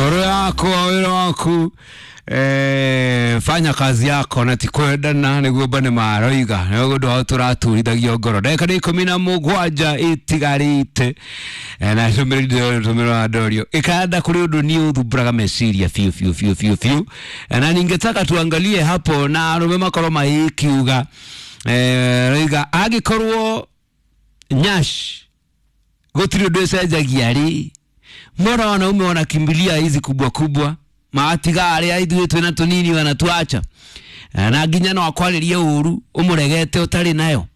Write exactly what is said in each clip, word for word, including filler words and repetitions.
Ngoro yakwa wĩra waku, eh, fanya kazi yako na ti kwendana nĩguo mbane maroiga nĩguo ũndũ wao tũraturithagia ngoro. Ndagĩka nĩ ikũmi na mũgwanja itigarĩte. Eh, na ndũmĩrĩri ndũmĩrĩri ndorio ikanda kũrĩ ũndũ niĩ ũthumbũraga meciria biũ biũ biũ biũ biũ. Eh, na ningetaka tuangalie hapo na arũme makorwo magĩkiuga, eh, roiga angĩkorwo nyash gũtirĩ ũndũ ĩcenjagia rĩ, mbona wanaume wanakimbilia hizi kubwa kubwa, maatiga arĩa ithuĩ twĩna tũnini wanatuacha? Na nginya no akwarĩrie ũru ũmũregete ũtarĩ nayo.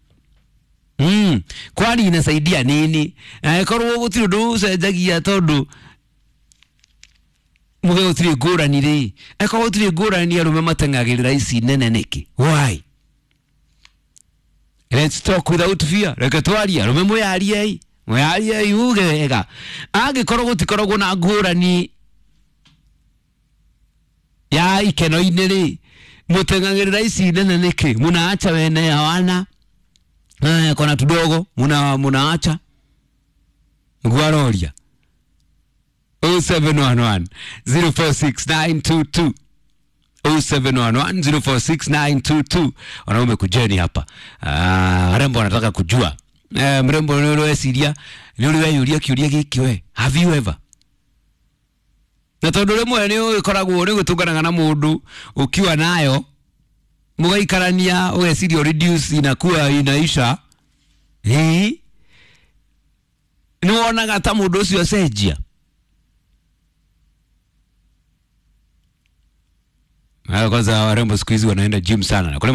Mm. Kwani inasaidia nini angĩkorwo gũtirĩ ũndũ ũcenjagia tondũ muge gũtirĩ ngũrani rĩ? Angĩkorwo gũtirĩ ngũrani, arũme mateng'agĩrĩra ici nene nĩkĩ? Why? Let's talk without fear. Reke twarie, arũme, mwĩyariei, mwĩyariei uge wega. Angĩkorwo gũtikoragwo na ngũrani ya ikeno-inĩ rĩ, mũteng'agĩrĩra ici nene nĩkĩ? Mũnaacha wene hawana, eh, kona tudogo muna munaacha. Nĩguo aroria. zero seven one one zero four six nine two two, zero seven one one zero four six nine two two. Wanaume kujeni hapa. Ah, warembo wanataka kujua. Eh, mrembo, nĩ ũrĩ weciria, nĩ ũrĩ weyũria kĩũria gĩkĩ we? Have you ever? Na tondũ rĩmwe nĩ ũgĩkoragwo nĩ gũtũnganaga na mũndũ ukiwa nayo, mũgaikarania, ũgeciria reduce inakuwa inaisha. Hii nĩ wonaga ta mũndũ ũcio acenjia. Ah, kwanza warembo siku hizi wanaenda gym sana na kule.